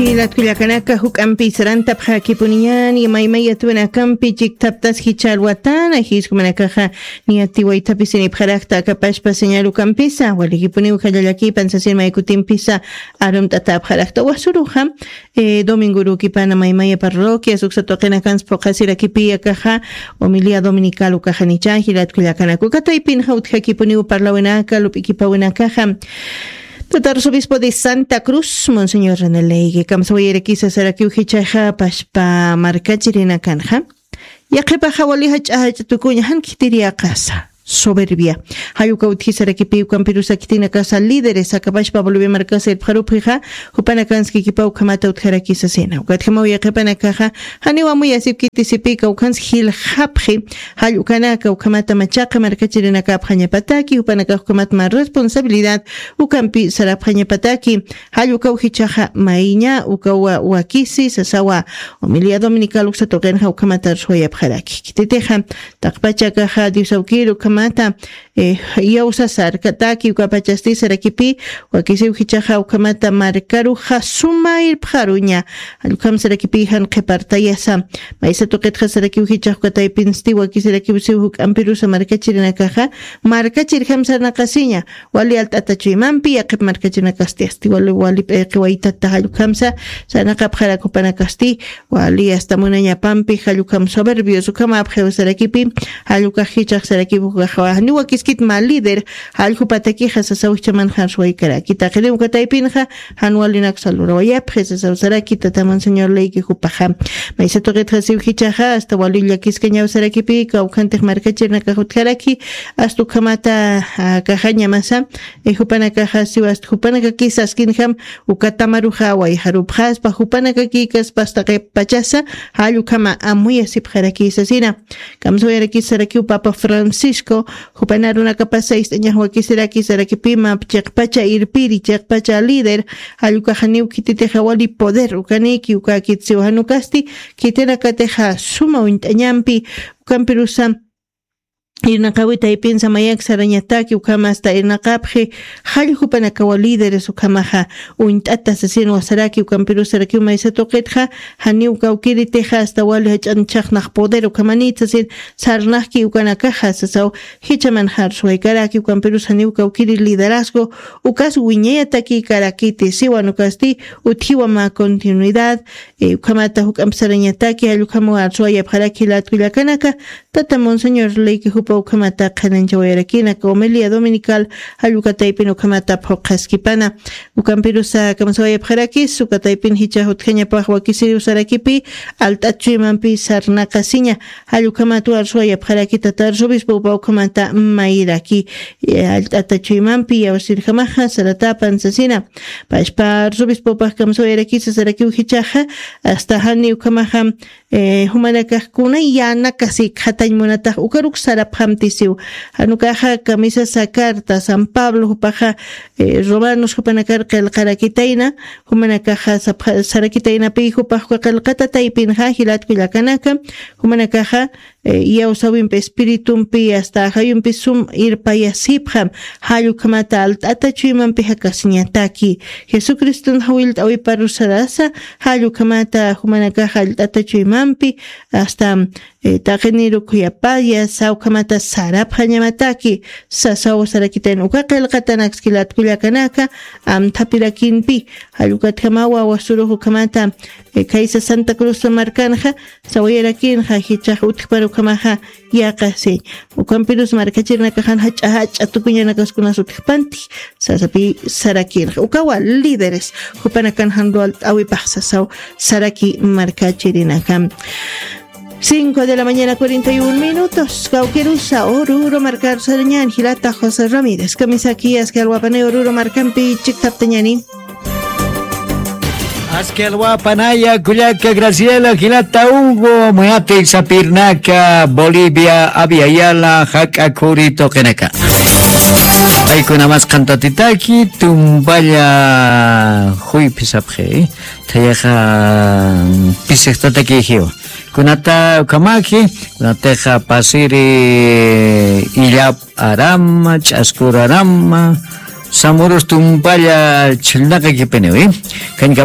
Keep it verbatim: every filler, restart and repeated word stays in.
Jilat kullakanaka, juk'ampi sarantapxäkipuniñäni, maymay yatwinakampi chikthaptas jichha alwatana, jiskumanakaxa niyatiwaythapisinipxarakta akapashpa señal ukampisa, walikipuniw jalla llakipan sasin maykutimpisa arumt'atäpxarakta. Wasuruxa, eh, domingorukipana maymaya parroquias uksa tuqinakans phuqhasirakipï akaxa, homilía dominical ukaxanicha, jilat kullakanaka. Uka taypinxa utjakipuniw parlawinaka, lup'ikipawinakaxa. Tata arzobispo de Santa Cruz, Monseñor René Leygue, kamsawayarakisa sarakiw jichhaxa pashpa markachirinakanxa. Yaqhipaxa wali jach'a jach'a tukuña, jan khitiriyaqasa, soberbia. Jall uka utji sarakipï ukampirusa khitinakasa líderes akapashpa Bolivia markasa irpxarupxixa, jupanakanskikipa ukhamata utjarakisasina. Ukatjamaw yaqhipanakaxa, janiw amuyasipkiti sipï kawkhans jilxapxi, jall ukanaka ukhamata machaqi markachirinakapxañapataki, jupanakax ukhamat mä responsabilidad ukampi sarapxañapataki, jall ukaw jichhaxa mayña, ukawa wakisi, sasawa, homilía dominical uksa tuqinxa ukhamata arswayapxaraki. Khititixa, taqpachakaxa Dios awkir ukhamata, eh, iyawsasa arkataki, ukapachasti sarakipï, wakisiw jichhaxa ukhamata markaruxa suma irpxaruña, jall ukham sarakipï jan qhipartayasa, maysa tuqitxa sarakiw jichhax uka taypinsti, wakisirakiw siw juk'ampirusa markachirinakaxa, markachirjam sarnaqasiña, wali alt'ata chuymampi, yaqhip markachirinakasti asti, wali, wali p'iqi waytata jall ukhamsa, sarnaqapxarak jupanakasti, wali asta munañapampi, jall ukham soberbios, ukhamäpxiw sarakipï, jall ukax jichhax sarakiw ukaxa, janiw wakiskit mä líder, jall jupatakixa sasaw jichhamanxa arswaykaraki. Taqiniw uka taypinxa, jan walinaksa lurawayapxi, sasaw saraki, tata Monseñor Leygue jupaxa. Maysa tuqitxa siw jichhaxa, asta wali llakiskañaw sarakipï, kawkhantix markachirinakax utjaraki, asta ukhamata, ah, kaxañamasa, eh, jupanakaxa siw asta jupanakakis askinjam, uka tamaruxa wayjarupxaspa, jupanakakïkaspa asta qhipachasa, jall ukhama amuyasipxarakisasina. Kamsawayarakisarakiw Papa Francisco, jupan arunakapasa ist'añax wakisiraki sarakipï mä chiqpacha irpiri, chiqpacha líder, jall ukaxa janiw khititixa wali poder ukanïki, ukakit siw jan ukasti, khitinakatixa suma uñt'añampi, ukampirusa, irnaqäwi taypinsa mayak sarañataki, ukham asta irnaqapxi, jall jupanakawa líderes ukhamaxa uñt'ata sasinwa saraki, ukampirus sarakiw maysa tuqitxa, janiw kawkiritixa asta wali jach'an chhaqnaq poder ukhamanït sasin sarnaqki ukanakaxa, sasaw jichhamanxa arswaykaraki, ukampirus janiw kawkiri liderazgo, ukas wiñayatakïkarakiti, siwan ukasti, utjiwa mä continuidad, eh, ukhamata juk'amp sarañataki, jall ukhamaw arswayapxaraki jilat kullakanaka, tata Monseñor Leygue jupa ukhamata qhananchawayarakina, homilía dominical, jall uka taypin ukhamata phuqhaskipana. Ukampirusa kamsawayapxarakis, uka taypin jichhax utjañapax wakisiriw sarakipï, alt'at chuymampi sarnaqasiña, jall ukhamat arswayapxaraki tata arzobispo jupa ukhamata mayraki, eh, alt'ata chuymampi iyawsirjamaxa, saratäpan sasina. Pashpa arzobispopax kamsawayarakisa sarakiw jichhaxa, asta jani ukhamaxa, eh, jumanakax kunay yänakasi khatañ munatax ukaruk sarapxamtisiw. Jan ukaxa kamisasa carta San Pablo jupaxa, eh, romanos jupanakar qillqarakitayna, jumanakaxa sapxa-, sarakitaynapï jupax uka qillqata taypinxa jilat kullakanaka, jumanakaxa, eh, iyawsäwimpi espiritumpi asta ajayumpi sum irpayasipxam, jall ukhamata alt'ata chuymampi jakasiñataki. Jesucriston jawillt'äwiparus sarasa, jall ukhamata jumanakaxa alt'ata chuymampi, asta, eh, taqiniruk khuyapaya, saw ukhamata sarapxañamataki, sasaw sarakitayna uka qillqatanaks jilat kullakanaka, amthapirakinpi, jall ukatjamawa wasurux ukhamata, eh, khaysa Santa Cruz markanxa, sawayarakinxa, jichhax utjpar ukhamaxa, yaqasiñ. Ukampirus markachirinakaxan jach'a jach'a tukuñanakaskunas utjpanti, sasapi sarakirxa. Ukawa líderes, jupanakan jan luwalt'äwipax sasaw saraki markachirinaka. Cinco de la mañana, cuarenta y un minutos. Kawkirusa, Oruro markar sarañän, jilata José Ramírez. Kamisaki, aski alwapanay Oruro markampi chikthaptañäni. Aski alwapanaya kullaka Graciela, jilata Hugo, muyatik sapirnaka, Bolivia, Abya Yala, jak'a khuri tuqinaka. Paykuna mas qhantatitaki, tumpalla juyphi sapxi, thayaxa pisixtataki jiwa. Kunata ukhamaki, kunatixa pasiri illap arama, ch'askur arama, samurus tumpalla chhillnaqakipiniwi. Kañka